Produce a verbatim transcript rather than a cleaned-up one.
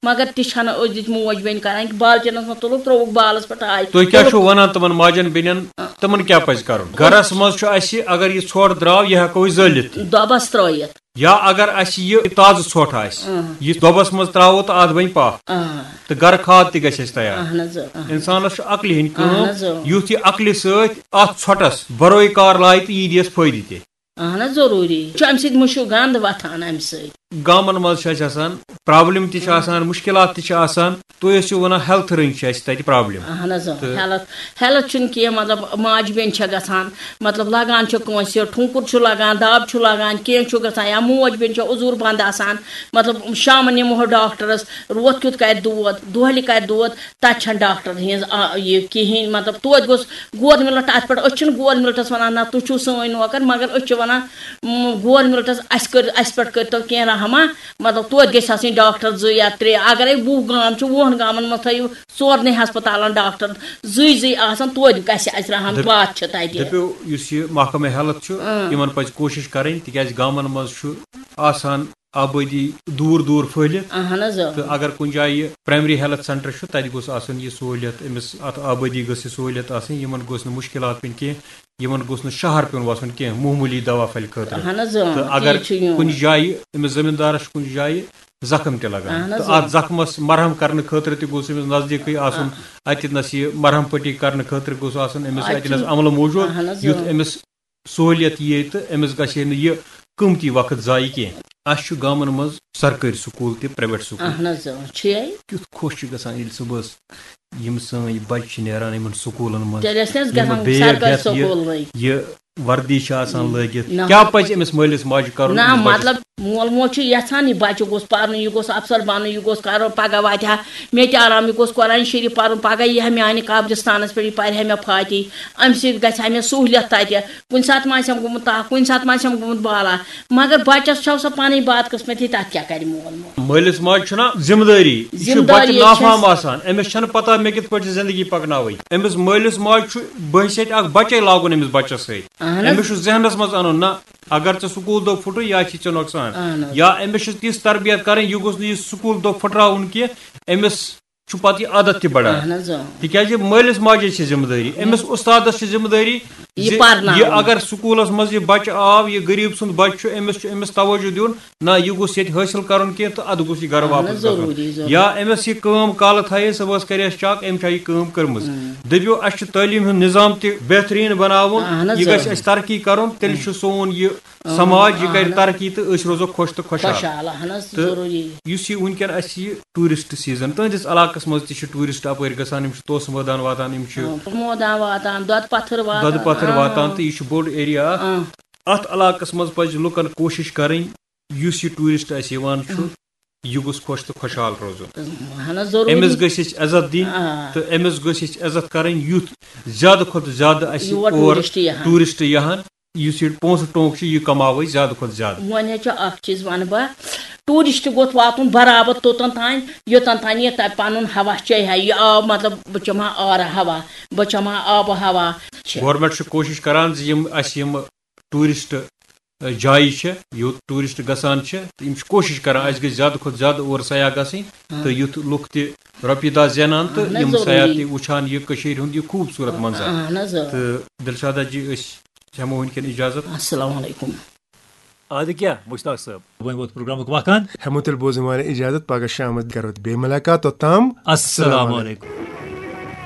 مگر تہِ چھنہٕ أزِچ موج بیٚنہِ کران کہِ بالٹیٖنس منٛز تُلُکھ، ترٛووُکھ بالس پٮ۪ٹھ آے۔ تُہۍ کیٛاہ چھِو وَنان تِمن ماجن بیٚنٮ۪ن؟ تِمن کیٛاہ پَزِ کَرُن؟ گرس منٛز چھُ اَسہِ، اگر یہِ ژھۄٹھ درٛاو، یہِ ہٮ۪کو أسۍ زٲلِتھ تہِ۔ دۄبس ترٲیِتھ۔ یا اگر اَسہِ یہِ تازٕ ژھۄٹھ آسہِ، یہِ دۄبس منٛز ترٛاوو تہٕ اَتھ بَنہِ پاہ، تہٕ گرٕ کھاد تہِ گژھِ اَسہِ تیار۔ اہن حظ، اہن۔ اِنسانس چھُ عقلہِ ہٕنٛدۍ اہن کٲم، حظ، اۭں۔ یُتھ یہِ عقلہِ سۭتۍ اَتھ ژھۄٹس بَروے کار لایہِ تہٕ یہِ دِیَس فٲیدٕ تہِ۔ اہن حظ، ضروٗری چھُ۔ امہِ سۭتۍ مہ چھُ گنٛد وۄتھان امہِ سۭتۍ۔ گامن منٛز چھِ اَسہِ آسان پرابلم تہِ چھِ آسان، مُشکِلات تہِ چھِ آسان۔ تُہۍ ٲسِو وَنان ہیلتھ رٔنٛگۍ چھِ اَسہِ تَتہِ پرابلم۔ اہن حظ، اۭں۔ تہٕ ہیلتھ، ہیلتھ چھُنہٕ کینٛہہ، مطلب ماجہِ بیٚنہِ چھےٚ گژھان، مطلب لگان چھُ کٲنٛسہِ ٹھونکُر چھُ لگان، دب چھُ لگان، کینٛہہ چھُ گژھان، یا موج بیٚنہِ چھےٚ عذور بنٛد آسان، مطلب شامن نِمہو ڈاکٹرس، روتھ کیُتھ کرِ دود، دۄہلہِ کرِ دود، تتہِ چھنہٕ ڈاکٹر ہٕنٛز آ، یہِ کِہیٖنۍ، مطلب توتہِ گوٚژھ گورمنٹ اتھ پٮ۪ٹھ، أسۍ چھِنہٕ گورمنٹس ونان نہ تُہۍ چھِو سٲنۍ نوکر، مگر أسۍ چھِ ونان، م، گورمنٹس اسہِ کٔر، اسہِ پٮ۪ٹھ کٔرتو کینٛہہ رحمہ، مطلب توتہِ گژھِ آسٕنۍ ڈاکٹر زٕ یا ترٛےٚ، اگرے وُہ گام چھِ، وُہن گامن منٛز تھٲیِو ژورنٕے ہسپتالن ڈاکٹر زٕے زٕے آسان، توتہِ گژھِ اسہِ رحم، دٔپ- واتہِ چھِ تتہِ۔ دٔپِو، یُس یہِ محکمہ ہیلتھ چھُ، یِمن پزِ کوٗشش کرٕنۍ، تِکیازِ گامن منٛز چھُ آسان آبٲدی دوٗر دوٗر پھٔہلِتھ۔ اہن حظ، آ۔ تہٕ اگر کُنہِ جایہِ پرایمری ہیلتھ سینٹر چھُ، تتہِ گوٚژھ آسُن یہِ سہوٗلیت أمِس، اتھ آبٲدی گٔژھ یہِ سہوٗلیت آسٕنۍ، یِمن گوٚژھ نہٕ مُشکِلات پیٚنۍ کینٛہہ، یِمن گوٚژھ نہٕ شہر پیوٚن وسُن کینٛہہ معموٗلی دوا پھلہِ خٲطرٕ۔ اہن حظ، آ، تہٕ تی اگر چھُ یُن۔ کُنہِ جایہِ أمِس زٔمیٖندارس چھُ کُنہِ جایہِ زخم تہِ لگان، اہن حظ، تہٕ آ۔ اتھ زخمس مرہم کرنہٕ خٲطرٕ تہِ گوٚژھ أمِس نزدیٖکٕے آسُن، اتہِ نس یہِ مرہم پٹی کرنہٕ خٲطرٕ گوٚژھ آسُن أمِس اتہِ اتہِ نس چھُ- عملہٕ موٗجوٗد، اہن حظ، یُتھ آ۔ أمِس سہوٗلیت یِیہِ تہٕ أمِس گژھِ ہے نہٕ یہِ قۭمتی وقت ضایع کینٛہہ۔ اَسہِ چھُ گامَن منٛز سرکٲرۍ سکوٗل تہِ، پرٛایویٹ سکوٗل تہِ۔ اہن حظ، آ، چھُ یہِ۔ کیُتھ خۄش چھُ گژھان ییٚلہِ صُبحس یِم سٲنۍ بَچہِ چھِ نیران یِمَن سکوٗلَن منٛز۔ تیٚلہِ ٲسۍ نہٕ أسۍ یِم گژھان بیگ سرکٲرۍ ہٮ۪تھ یہِ، سکوٗل وۄنۍ۔ یہِ وردی چھِ آسان لٲگِتھ۔ نہ۔ کیٛاہ پَزِ أمِس مٲلِس ماجہِ کَرُن نہ، أمِس بَچَس؟ مطلب مول موج چھُ یژھان یہِ بچہِ گوٚژھ پرُن، یہِ گوٚژھ افسر بنُن، یہِ گوٚژھ کرُن، پگاہ واتہِ ہا مےٚ تہِ آرام، یہِ گوٚژھ قرآن شریف پرُن، پگاہ یی ہا میانہِ قبرستانس پٮ۪ٹھ، یہِ پرِ ہا مےٚ فاتحہ، امہِ سۭتۍ گژھِ ہا مےٚ سہوٗلیت تتہِ۔ کُنہِ ساتہٕ ما آسٮ۪م گوٚمُت تاپھ، کُنہِ ساتہٕ ما آسٮ۪م گوٚمُت بالا، مگر بچس چھو سۄ پنٕنۍ بد قسمتی، تتھ کیٛاہ کرِ مول موج؟ مٲلِس ماجہِ چھُنہ ذمہٕ دٲری، یہِ چھُ ذمہٕ دٲری بچہِ چھَس۔ نافہم آسان، أمِس چھنہٕ پتہ مےٚ کِتھ پٲٹھۍ چھِ زندگی پکناوٕنۍ۔ أمِس مٲلِس ماجہِ چھُ بحیثیت اکھ بچے لاگُن أمِس بچس سۭتۍ۔ اہن حظ۔ أمِس چھُ ذہنس منٛز انُن، نہ اگر ژےٚ سکوٗل دۄہ پھُٹُے، یا چھی ژےٚ نۄقصان، اہن حظ۔ یا أمِس چھِ تِژھ تربیت کرٕنۍ، یہِ گوٚژھ نہٕ یہِ سکوٗل دۄہ پھُٹراوُن کینٛہہ، أمِس چھُ پتہٕ یہِ عادت تہِ بڑان۔ اہن حظ، آ۔ تِکیازِ مٲلِس ماجہِ چھِ ذمہٕ دٲری، أمِس اُستادس چھِ ذمہٕ دٲری یہِ زِ پرناوُن۔ یہِ اگر سکوٗلس منٛز یہِ بچہِ آو، یہِ غریٖب سُنٛد بچہِ چھُ، أمِس چھُ أمِس توجہ دیُن، نہ یہِ گوٚژھ ییٚتہِ حٲصِل کرُن کینٛہہ تہٕ ادٕ گوٚژھ یہِ گرٕ اہن واپس حظ، گژھُن۔ ضروٗری، ضروٗری۔ یا أمِس یہِ کٲم کالہٕ تھایے، صُبحس کرِ اَسہِ چیک، أمۍ چھا یہِ کٲم کٔرمٕژ۔ دٔپِو، اَسہِ چھُ تعلیٖم ہُنٛد نظام تہِ بہتریٖن بناوُن، اہن حظ، یہِ گژھِ آ۔ اَسہِ ترقی کرُن، تیٚلہِ چھُ سون یہِ سماج، یہِ کرِ اہن حظ۔ ترقی تہٕ أسۍ روزو خۄش تہٕ خۄشحال۔ خۄشحال، اہن حظ، تہٕ ضروٗری۔ یُس یہِ وٕنکیٚن اَسہِ یہِ ٹوٗرِسٹ سیٖزن، تُہٕنٛدِس علاقس منٛز تہِ چھِ ٹوٗرِسٹ اَپٲرۍ گژھان، یِم چھِ توسہٕ مٲدان واتان، یِم چھِ آ، مٲدان واتان، دۄدٕ پتھٕر واتان۔ دۄدٕ پتھٕر آ۔ واتان، تہٕ یہِ چھُ بوٚڑ ایریا اکھ۔ آ۔ اَتھ علاقس منٛز پزِ لُکن کوٗشِش کرٕنۍ، یُس یہِ ٹوٗرِسٹ اَسہِ یِوان چھُ، یہِ گوٚژھ خۄش تہٕ خۄشحال روزُن۔ اہن حظ، ضروٗری۔ أمِس گٔژھ أسۍ عزت دِنۍ آ۔ تہٕ أمِس گٔژھ أسۍ عزت کرٕنۍ، یُتھ زیادٕ کھۄتہٕ زیادٕ اَسہِ یور اور ٹوٗرِسٹ یِہَن۔ ٹوٗرِسٹ یِہَن، یُس یہِ پونٛسہٕ ٹونٛک چھُ، یہِ کماوو أسۍ زیادٕ کھۄتہٕ زیادٕ۔ وۄنۍ حظ چھُ اکھ چیٖز وَنہٕ بہٕ، ٹوٗرِسٹ گوٚژھ واتُن برابر توٚتَن تام، یوٚتَن تام یہِ تَتہِ پَنُن ہوا چیٚیہِ ہا، یہِ آو مطلب بہٕ چَمہٕ ہا آرٕ ہوا، بہٕ چَمہٕ ہا آبہٕ ہوا۔ چھِ۔ گورنمنٹ چھِ کوٗشِش کران زِ یِم اَسہِ یِم ٹوٗرِسٹ، ٲ، جایہِ چھِ، یوٚت ٹوٗرِسٹ گژھان چھِ، تہٕ یِم چھِ کوٗشِش کران اَسہِ گژھِ زیادٕ کھۄتہٕ زیادٕ اور سیاح گژھٕنۍ، تہٕ یُتھ لُکھ تہِ رۄپیہِ دَہ زینان تہٕ اہن حظ، یِم ضروٗری۔ سیاح تہِ وٕچھان یہِ کٔشیٖرِ ہُنٛد یہِ خوٗبصوٗرت منظر۔ اہن حظ، آ۔ تہٕ دِلشادا جی، أسۍ ہٮ۪مو وٕنکٮ۪ن اِجازت۔ السلام علیکم۔ ادٕ کیٛاہ مشتاق صٲب، وۄنۍ ووت پروگرامُک وقت ہن۔ ہٮ۪مو تیٚلہِ بوزٕنۍ واریاہ اِجازت، پگاہ شامَس کرو بیٚیہِ مُلاقات، توٚتام السلام علیکم۔